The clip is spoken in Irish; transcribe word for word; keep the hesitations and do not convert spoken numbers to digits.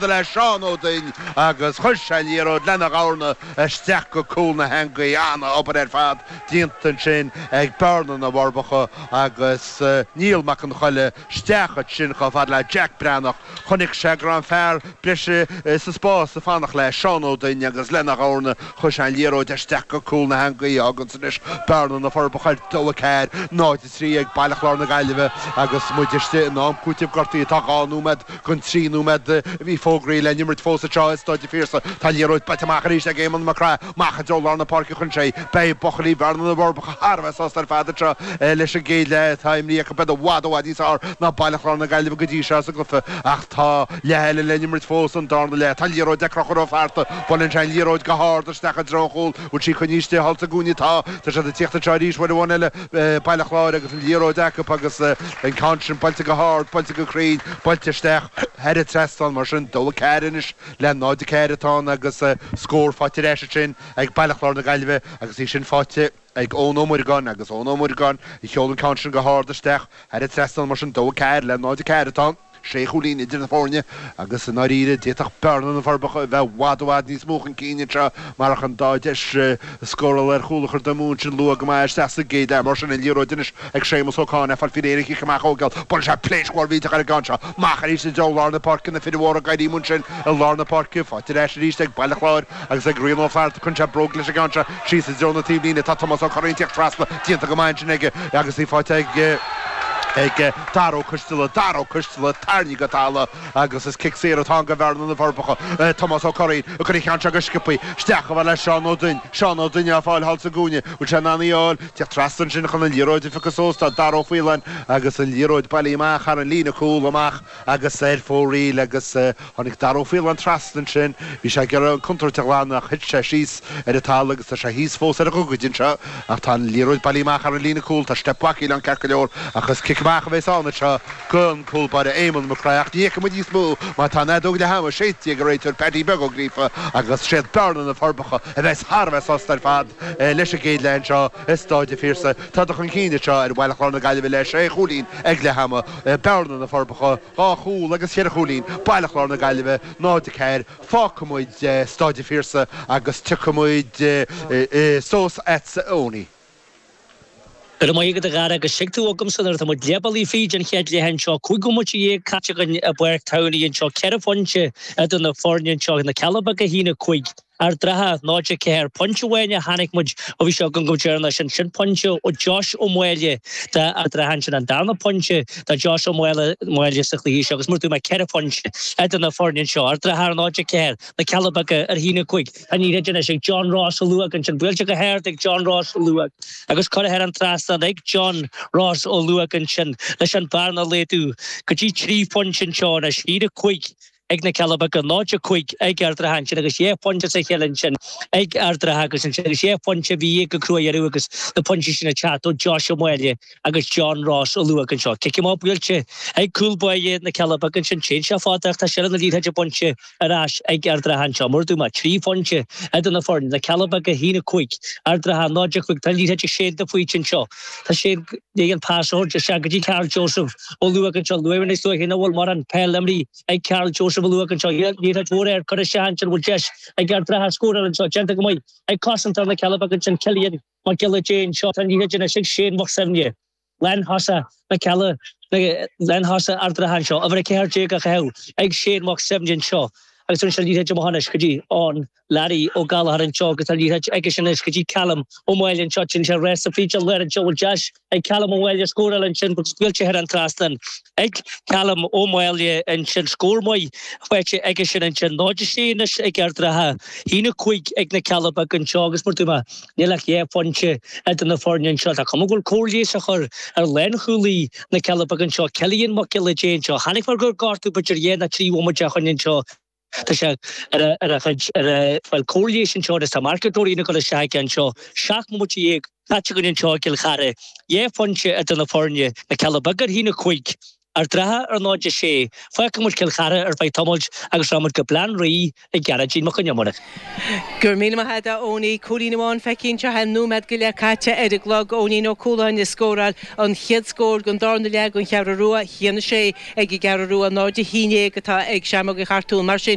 le Seán Ó Duinn agus chuir sé an liathróid lena dhorna isteach go cúl na heangaí. An-obair ar fad déanta ansin ag Bearna na bhForbacha agus Niall Mac an Choille isteach ansin chomh fada le Jack Breathnach. Chonaic sé go raibh an fear breise sa spás ag fanacht le Seán Ó Duinn agus lena dhorna chuir sé an liathróid isteach go cúl na heangaí. Fágann sin anois Bearna na Forbacha ar dó a ceathair, náid a trí ag Baile Chláir na Gaillimhe agus muid istigh in am cúitimh gortaithe. Tá dhá nóiméad gon trí nóiméad a bhí fógraithe le n-imirt fós anseo i Staid an Phiarsaigh. Tá an liathróid buailte amach arís ag Éamonn Mac Craith. Amach i dtreo lár na páirce chun sé. Beidh buachaillí Bhearna na bhForbacha thar a bheith sásta ar fad anseo leis an gcéad leath atá imrithe acu. Beidh i bhfad i bhfad níos fearr ná Baile Chláir na Gaillimhe go dtí seo sa gcluiche ach tá leath eile le n-imirt fós, an darna leath. Tá an liathróid ag Conchúr Ó Flatharta. Buaileann sé an liathróid go hard isteach i dtreo an chúil. Bhfuil sí coinnithe istigh thall sa gcúinne? Tá. Tá siad ag tíocht anseo arís uair amháin eile, Baile Chláir agus an liathróid acu agus an ceann sin buailte go hard, buailte go cruinn, buailte isteach thar an trasnán. Mar sin, dó a ceathair anois le náid a ceathair atá ann agus scór faighte ar ais ansin ag Baile Chláir na Gaillimhe agus í sin faighte ag Eoin Ó Muireagáin agus Eoin Ó Muireagáin a sheol an ceann sin go hard isteach thar an trasnán. Mar sin, dó a ceathair le náid a ceathair atá ann. Sé chúilín idir na foirne agus i ndáiríre d'fhéadfadh Bearna na bhForbacha a bheith i bhfad i bhfad níos mó chun cinn anseo marach an dá deis scórála ar chúl a chur amú ansin luath go maith isteach sa gcéad leath. Mar sin, an liathróid anois ag Séamus Ó Cadhain, ag fáil faoi réir an chic amach a thógáil. Buaileann sé pléasc mhór mhillteach ar an gceann seo. Amach arís i dtreo lár na páirce, na fir mhóra ag éirí ansin i lár na páirce. Faighte ar ais arís ag Baile Chláir agus ag Rian Ó Flatharta. Cuireann sé bróg leis an gceann seo síos i dtreo na taobhlíne. Tá Tomás Ó Curraoin ag tíocht trasna. Déanta go maith ansin aige agus í faighte ag. ag Dara Ó Coisteala, Dara Ó Coisteala tarraingthe go talamh agus is cic saor atá ann do Bhearna na bhForbacha. Tomás Ó Curraoin ag cur an cheann seo go sciobthaí isteach chomh fada le Seán Ó Duinn. Seán Ó Duinn á fáil thall sa gcúinne. Bhfuil sé in ann í a fháil? Teacht trasna ansin chun an liathróid a phiocadh suas tá Dara Ó Faoláin agus an liathróid bailithe amach thar an líne cúl amach agus ar fóraoil agus tháinig Dara Ó Faoláin trasna ansin. Bhí sé ag iarraidh an contúirt a ghlanadh ach thit sé síos ar an talamh agus tá sé thíos fós ar a ghogaid anseo ach tá an liathróid bailithe amach thar an líne cúl. Tá steip bacaíl ann ceart go leor ach is cic amach a bheas ann anseo don cúl báire Éamonn Mac Craith ach ní fheicfidh muid níos mó mar tá an fheadóg leath ama séidte ag an réiteoir Paddy Beag Ó Gríofa agus siad Bearna na Forbacha a bheas thar a bheith sásta ar fad leis an gcéad leath anseo i Stáid an Phiarsaigh. Tá chun cinn anseo ar Bhaile Chláir na Gaillimhe le sé chúilín ag leath ama. Bearna na Forbacha, dhá chúl agus cheithre chúilín, Baile Chláir na Gaillimhe, náid a ceathair. Fágfaidh muid Stáid an Phiarsaigh agus tiocfaidh muid suas agatsa a Eoiní. Go raibh maith agat a Dhara agus tuig tú agamsa nuair atá muid leath bealaigh fríd an chéad leath anseo, cúig bhomaite dhéag caite againn i bPáirc Townley anseo, ceithre phointe idir na foirne anseo, na Cealla Beaga a haon a cúig, Ard an Rátha náid a ceathair, pointe amháin a chonaic muid ó bhí sé againn go deireanach sin, sin pointe ó Josh Ó Máille d'Ard an Rátha ansin, an darna pointe do Josh Ó Máille sa chluiche seo agus mar a dúirt mé ceithre phointe idir na foirne anseo, Ard an Rátha ar náid a ceathair, na Cealla Beaga ar a haon a cúig. An liathróid anois ag John Ross Ó Luaig ansin, buailte go hard ag John Ross Ó Luaig agus curtha thar an trasnán ag John Ross Ó Luaig ansin leis an bearna a laghdú go dtí trí phointe anseo anois, a haon a cúig ag na Cealla Beaga, náid a cúig ag Ard an Rátha ansin agus dhá phointe as a chéile ansin ag Ard an Rátha agus ansin agus dhá phointe a bhí ag go crua-dheireadh agus na pointí sin ag teacht ó Josh Ó Máille agus John Ross Ó Luaig anseo. Cic amach buailte ag cúl báire na Cealla Beaga ansin, téann sé fada ach tá seilbh na liathróide bainte ar ais ag Ard an Rátha anseo. Mar a dúirt mé, trí phointe idir na foirne, na Cealla Beaga a haon a cúig, Ard an Rátha náid a cúig. Tá an liathróid ag Shane de Faoite anseo. Tá Shane ag an pas a thabhairt isteach go dtí Karl Joseph Ó Luaig anseo. Luaigh níos luaithe nach bhfuil mórán peil imrithe ag Karl Joseph Ó Luaig anseo. Liathróid mhór air curtha isteach ansin, bhfuil deis ag Ard an Rátha scóráil anseo. Déanta go maith ag cosantóir na Cealla Beaga ansin, Cillian Mac Giolla Dé anseo. Tá an liathróid anois ag Shane Mac Suibhne. Lánthosaí na Cealla, lánthosaí Ard an Rátha anseo. Uimhir a ceathair déag á chaitheamh ag Shane Mac Suibhne anseo. Agus tugann sé an liathróid amach anois go dtí an Larry Ó Gallchóir anseo agus tá an liathróid aigesean anois go dtí Callum Ó Máille anseo. Téann sé rása fríd an lár anseo. Bhfuil deis ag Callum Ó Máille scóráil ansin agus buailte thar an trasnán ag Callum Ó Máille ansin. Scór maith faighte aigesean ansin. Náid a sé anois ag Ard an Rátha. Haon a cúig ag na Cealla Beaga anseo agus mar dúirt mé, níl ach dhá phointe idir na foirne anseo. Tá cuma go bhfuil cóir leighis á chur ar lánchúlaí na Cealla Beaga anseo, Cillian Mac Giolla Dé anseo. Chonaic mé gur gortú b'fhéidir dhá nó trí bhomaite ó shin anseo. Tá sé ar a ar a chuid ar a bhfuil cóir leighis anseo agus tá marcadóirí ag dul isteach aige anseo. Seacht mbomaite dhéag caite againn anseo i gCill Chartha. Dhá phointe idir na foirne, na Cealla Beaga ar a haon a cúig. Ard an Rátha ar náid a sé. Fágfaidh muid Cill Chartha ar feadh tamaill agus rachaidh muid go Baile Átha an Rí ag Gearóidín Mac Con Iomaire. Go raibh míle maith agat a Eoiní. Cúilín amháin feicthe anseo nóiméad go leith caite ar an gclog. Eoinín Ó Cualáin ag scóráil an chéad scór den darna leath don Cheathrú Rua, a haon a sé ag an gCeathrú Rua, náid a haon déag atá ag Seamróga Chartún. Mar sin